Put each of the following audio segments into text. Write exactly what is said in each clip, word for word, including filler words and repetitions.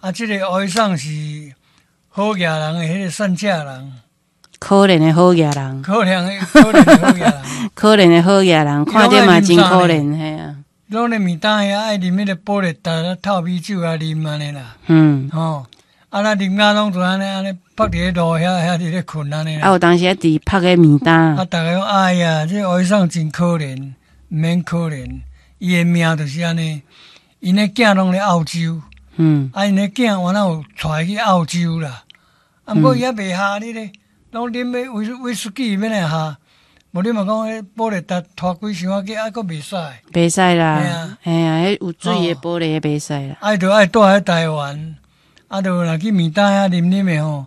啊，這个烏醫生是好額人的彼个散赤人，可憐的好額人，可憐的可憐的好額人，可憐的好額人，看著嘛真可憐，嘿啊。攏咧暝東遐愛啉彼个保力達透米酒啊啉按呢啦，嗯，吼，啊咱啉甲攏總按呢按呢趴佇咧路遐遐佇咧睏按呢啊，有當時佇曝咧暝東，啊，逐家講哎呀，這個烏醫生真可憐，毋免可憐，伊的命就是按呢，𪜶的囝攏咧澳洲，嗯，啊，𪜶的囝原來有帶去澳洲啦，啊，毋過伊猶袂合你咧，攏啉欲威威士忌欲來合，無你嘛講彼保力達拖幾箱仔去，啊，閣袂使，袂使啦，嘿啊，彼有水的玻璃袂使啦，愛就愛蹛佇台灣，啊，就若去暝東遐啉啉的吼，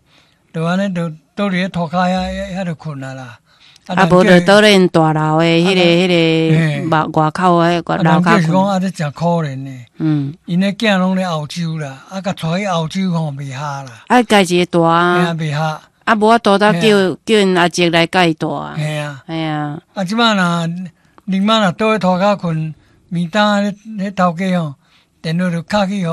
就按呢就倒佇咧塗跤遐遐就睏啊啦。啊，無就倒咧𪜶大樓的彼个彼个外外口的外樓跤。是講啊，這誠可憐的。嗯。𪜶的囝攏咧澳洲啦，啊，共帶去澳洲吼袂合啦。啊，家己一個帶啊。袂合。啊，無法度才叫叫𪜶阿叔來共伊帶啊。嘿啊。嘿啊。啊，這擺若另外若倒咧塗跤睏，暝東彼彼頭家吼，電話就敲去予。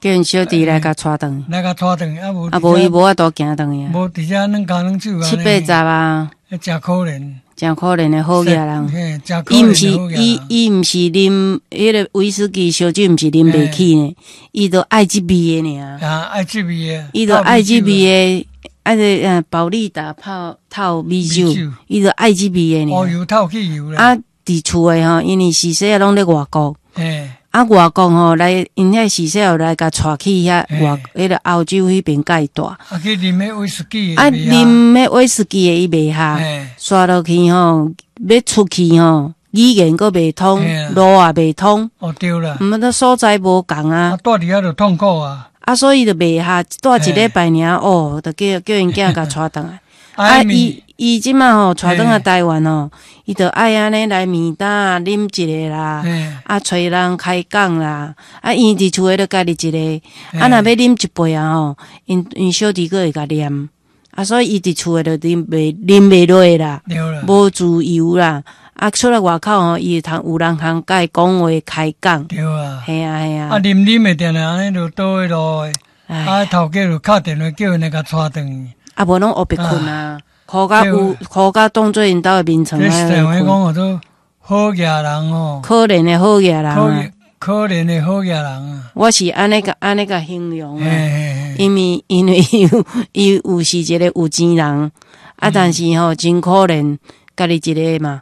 叫𪜶小弟來共帶轉。來共帶轉，啊無。啊無伊無法度行轉去啊。無佇遮軟跤軟手七八十啊。誠可憐。誠可憐的好額人。伊毋是伊伊毋是啉彼个威士忌燒酒，毋是啉袂起呢，伊就愛這味的爾。啊，愛這味的。伊就愛這味的，啊個呃保力達泡透米酒，伊就愛這味的爾。烏油透汽油啊，佇厝的吼，因為序細攏咧外國。啊，外國吼來，𪜶遐序細來共帶去遐外，彼个歐洲彼邊共伊帶。啊，去啉彼威士忌。啊，啉彼威士忌的伊袂合，煞落去吼，欲出去吼，語言閣袂通，路也袂通。哦，對啦。毋那所在無仝啊。啊，蹛佇遐就痛苦啊。啊，所以就袂合，蹛一禮拜爾哦，就叫叫𪜶囝共帶轉來。啊，伊伊這馬吼帶轉來台灣吼，伊就愛按呢來暝東啉一个啦，啊，揣人開講啦，啊，伊佇厝的就家己一个，啊，若欲啉一杯啊吼，𪜶𪜶小弟閣會共念，啊，所以伊佇厝的就啉袂啉袂落啦，無自由啦，啊，出來外口吼，伊會通有人通共伊講話開講。對啊。嘿啊嘿啊。啊，啉啉的定定按呢就倒彼路的，啊，頭家就敲電話叫𪜶來共帶轉去。啊，無攏烏白睏啊，苦甲有苦甲當做𪜶兜的眠床。這是話講叫做好額人哦，可憐的好額人啊，可憐的好額人啊。我是按呢共按呢共形容啊，因為因為伊有伊有是一個有錢人，啊，但是吼真可憐，家己一个嘛，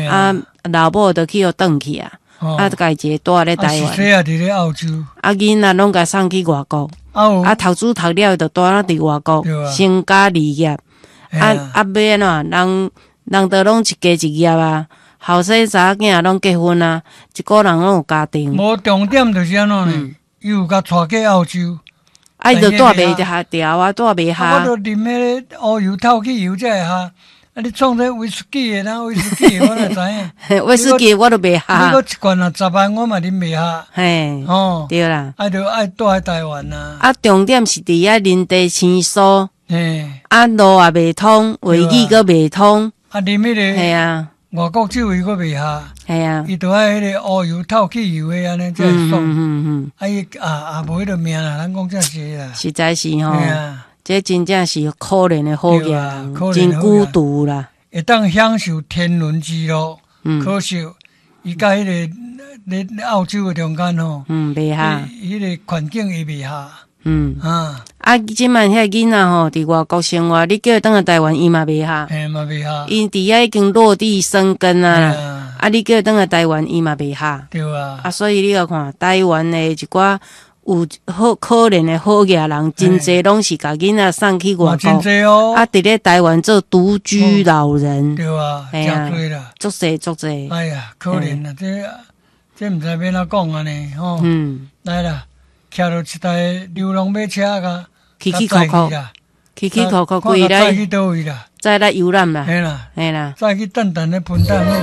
啊，老母就去予轉去啊，啊，家己一个蹛咧台灣，序細佇咧澳洲，啊，囡仔攏共送去外國。啊，讀書讀了就蹛咧佇外國成家立業，啊啊，欲按怎人人都攏一家一業啊，後生查某囝攏結婚啊，一個人攏有家庭。無重點就是按怎呢？伊有共帶過澳洲，啊，伊就蹛袂合調啊，蹛袂合。我就啉彼个烏油透汽油才會合。啊！你創這威士忌的，哪威士忌的，我哪知影？威士忌我都袂合。你閣一罐若十萬，我嘛啉袂合。嘿，哦，對啦。啊，就愛蹛佇台灣啊。啊，重點是佇遐人地生疏。嘿。啊，路也袂通，話語閣袂通。啊，啉彼个。嘿啊。外國酒伊閣袂合。嘿啊。伊就愛彼个烏油透汽油的按呢才會爽。嗯嗯嗯。啊，伊啊啊無彼个命啦，咱講這是啦。實在是吼。這真正是可憐的好額人，真孤獨啦。會當享受天倫之樂，可惜伊佮彼个咧澳洲的中間吼，嗯，袂合，彼个環境伊袂合，嗯啊，啊，這擺遐囡仔吼，佇外國生活，你叫伊轉來台灣，伊嘛袂合，嘿嘛袂合，𪜶佇遐已經落地生根啊，啊，你叫伊轉來台灣，伊嘛袂合，對啊，啊，所以你著看台灣的一寡有好可憐的好額人，真濟攏是共囡仔送去外國，啊，佇咧台灣做獨居老人，對啊，誠濟啦，足濟足濟。哎呀，可憐啊，這這毋知欲按怎講按呢吼。嗯，來啦，騎著一台流浪馬車共，起起扣扣，起起扣扣，規來去佗位啦？再來遊覽啦，嘿啦，嘿啦，再去等等咧噴彈好。